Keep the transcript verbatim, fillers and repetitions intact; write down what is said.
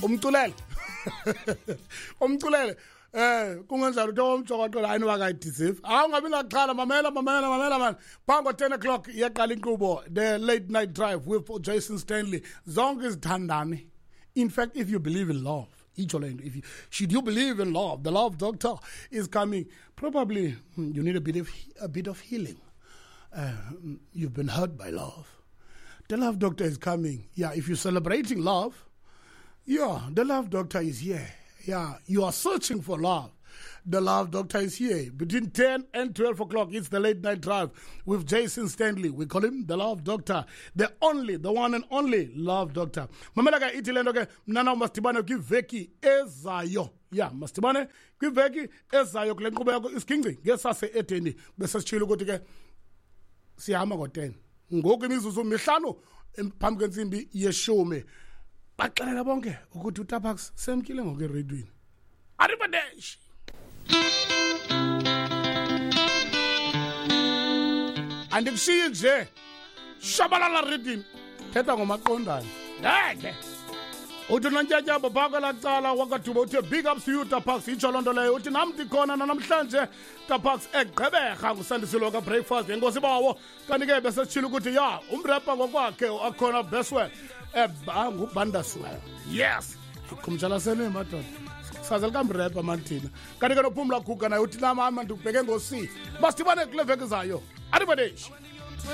Umculele. Umculele. Eh kungenjalo uthi omjokoqela hayi noba akayideserve. Hawu ungabi naxhala, mamela mamela mamela man. Phambi ten o'clock iyaqala inkqubo the late night drive with Jason Stanley. Zonke izithandane. In fact, if you believe in love, itsho le nto, if you should you believe in love, the love doctor is coming. Probably you need a bit of a bit of healing. Uh, you've been hurt by love. The love doctor is coming. Yeah, if you're celebrating love, yeah, the love doctor is here. Yeah, you are searching for love. The love doctor is here. Between ten and twelve o'clock, it's the late night drive with Jason Stanley. We call him the love doctor. The only, the one and only love doctor. Mamela ke ithi le nto ke mnana masidibane kwiveki ezayo. Yeah, masidibane kwiveki ezayo kule nkqubo yakho isiginci ngesase edeni. Bese sitshilo ukuthi ke sihamba ngo-ten. Ngoku imizuzu mihlanu phambi kwentsimbi yeshumi. Baxelela bonke ukuthi uTapax semkile ngoku eredweni. Arrivederci. Andikushiyi nje. Shabalala redini. Thetha ngomaqondane. Ngeke. Uthi nontyatyambo phaa kwelaa cala wakaDuba uthe big ups to you Tapax, itsho loo nto leyo. Uthi nam ndikhona nanamhlanje Tapax eGqeberha ngusandisilo ka-breakfast enkosi bawo. Kanti ke besesitshilo ukuthi ya umrepa ngokwakhe akhona Beswell ngubandaswell. Yes. Khumtshalasele madoda. Saze likamrepa mani thina. Kanti ke nophumla guga naye uthi nam hamba ndikubheke ngosi. Masidibane kule veki zayo. Arrivederci.